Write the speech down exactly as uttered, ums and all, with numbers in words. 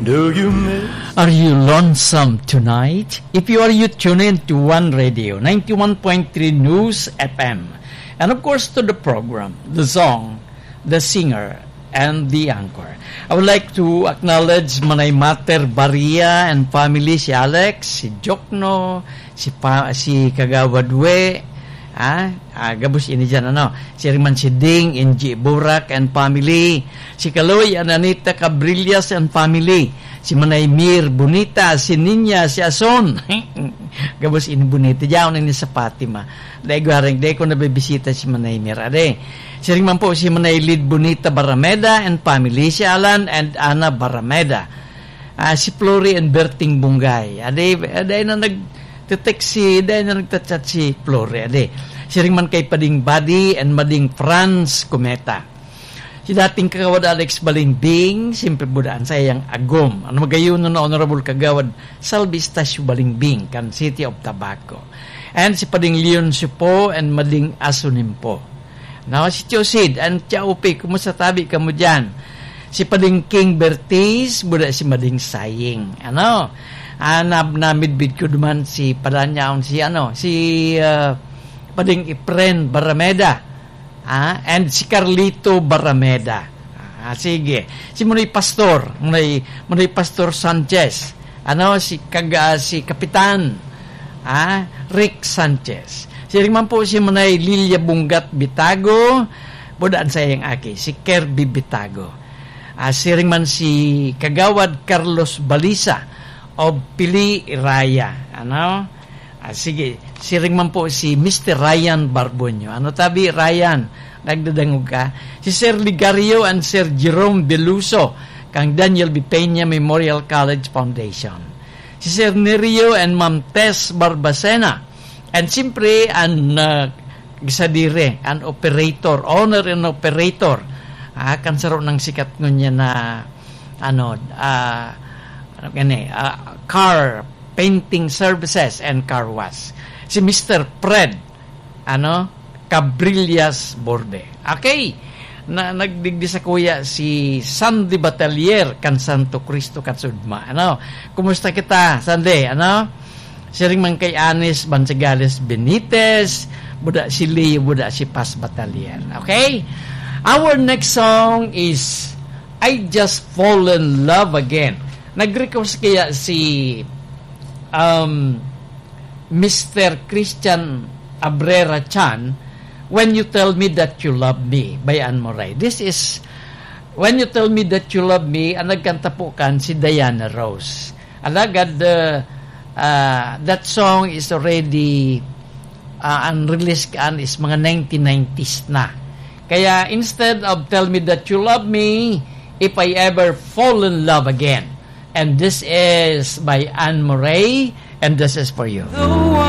Do you miss? Are you lonesome tonight? If you are, you tune in to One Radio, ninety-one point three News F M. And of course, to the program, the song, the singer, and the anchor. I would like to acknowledge Manay Mater Baria and family, si Alex, si Jokno, si pa, si Kagawad We, ah, ah, gabos ini dyan, ano, si Riman Siding, N G Burak and family, si Kaloy and Anita Cabrillas and family, si Manay Mir Bonita, si Ninya, si Ason, gabos ini Bonita, dyan ini sa Fatima. Dai gwaring, dai ko nabibisita si Manay Mir, ade. Si Riman po si Manay Lid Bonita Barameda and family, si Alan and Ana Barameda. Ah, si Flori and Berting Bungay. Ade, ade na nag-text si, ade na nagta-chat si Flori, ade. Siring man kay Pading Buddy and Mading Franz Cometa. Si dating Kagawad Alex Balingbing, siyempre budaan sa iyang agom. Ano magayon na Honorable Kagawad Salvi Estacio Balingbing, kan City of Tabaco. And si Pading Leon Supo and Mading Asunimpo. No, si Tio Sid and Tia Upi, kumusta tabi kamo dyan? Si Pading King Bertiz, buda si Mading Saying. Ano? Ah, na, namidbid ko duman si Padanyaon, si ano, si, ah, Pading Ipren Barameda. Ah, and si Carlito Barameda. Ah, sige. Si Munoy Pastor, Munoy, Munoy Pastor Sanchez. Ano, si Kag-, ah, si Kapitan, ah, Rick Sanchez. Siring man po si Manay Lilia Bunggat Bitago, budaan sa iyang aki, si Kirby Bitago. Ah, siring man si Kagawad Carlos Balisa of Pili, Iraya. Ano? Ah, sige, siring man po si Mister Ryan Barbonyo. Ano tabi, Ryan? Nagdadangog ka? Si Sir Ligario and Sir Jerome Beluso, kang Daniel B. Peña Memorial College Foundation. Si Sir Nerio and Ma'am Tess Barbacena. And siyempre, ang, ah, gisadire, ang operator, owner and operator. Ah, kan saro ng sikat ngunyan na, ano, ah, ano gani, ah, car painting services and car wash. Si Mister Fred, ano, Cabrillas Borbe. Okay. Na, nagdigdi sa kuya si Sandy Batalier kan Santo Cristo kan Sudma. Ano? Kumusta kita, Sandy? Ano? Siring man kay Anis Bansagales Benitez, buda si Leo, buda si Paz Batalier. Okay? Our next song is I Just Fall in Love Again. Nag-request kaya si, um, Mister Christian Abrera Chan, When You Tell Me That You Love Me by Anne Murray. This is When You Tell Me That You Love Me, ang nagkanta po kan si Diana Rose. Alagad, uh, uh, that song is already, uh, ang release kan is mga nineteen nineties na. Kaya instead of Tell Me That You Love Me, If I Ever Fall in Love Again. And this is by Anne Murray, and this is for you.